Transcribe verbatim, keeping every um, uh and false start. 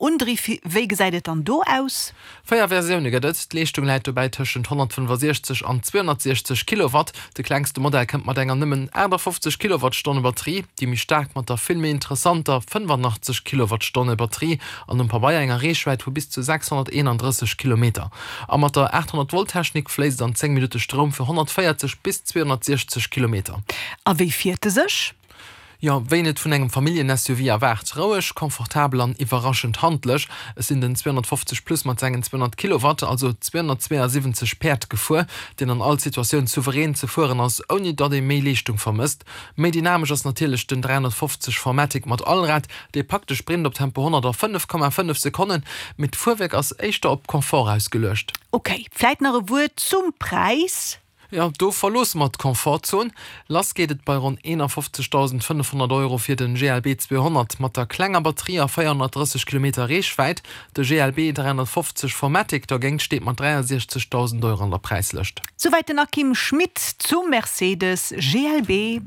Undriff, wéi gesäit et dann do aus? Véier Versioune gëtt et, d'Leeschtung läit dobäi tëschent honnertfënnefasechzeg an zweehonnertsiechzeg Kilowatt. De klengste Modell kënnt mat enger nëmmen aachtafoffzeg Kilowattstonne Batterie, déi méi staark mat der vill méi interessanter fënnefanachteg Kilowattstonne Batterie an um Pabeier enger Reechwäit vu bis zu sechshonnerteenandrësseg Kilometer. A mat der aathonnert Volt Technik fléisst an zéng Minutte Stroum fir honnertvéierzeg bis zweehonnertsiechzeg Kilometer. A wéi fiert e sech? Jo, wéi een et vun engem Familljen-S U V erwaart, roueg, komfortabel an iwwerraschend handlech. Ech sinn den zweehonnertfofzeg Plus mat sengen zweehonnert Kilowatt, also zweehonnertzweeasiwwenzeg Päerd gefuer, deen an all Situatioun souverän ze fueren ass, ouni datt ee méi Leeschtung vermësst. Méi dynamesch ass natierlech den dräihonnertfofzeg Formatic mat Allrad, dee packt de Sprint op Tempo honnert a fënnef Komma fënnef Sekonnen, mee d'Fuerwierk ass éischter op Confort ausgeluecht. Ok, vläit nach e Wuert zum Präis? Jo, do verloosse mer d'Komfortzon. Lass geet et bei ronn eenafofzegdausendfënnefhonnert Euro fir den G L B zweehonnert mat der klenger Batterie a véierhonnertdrësseg Kilometer Reechwäit. De G L B dräihonnertfofzeg Formatic dergéint steet mat dräiasiechzegdausend Euro an der Präislëscht. Souwäit den Akim Schmit zum Mercedes G L B.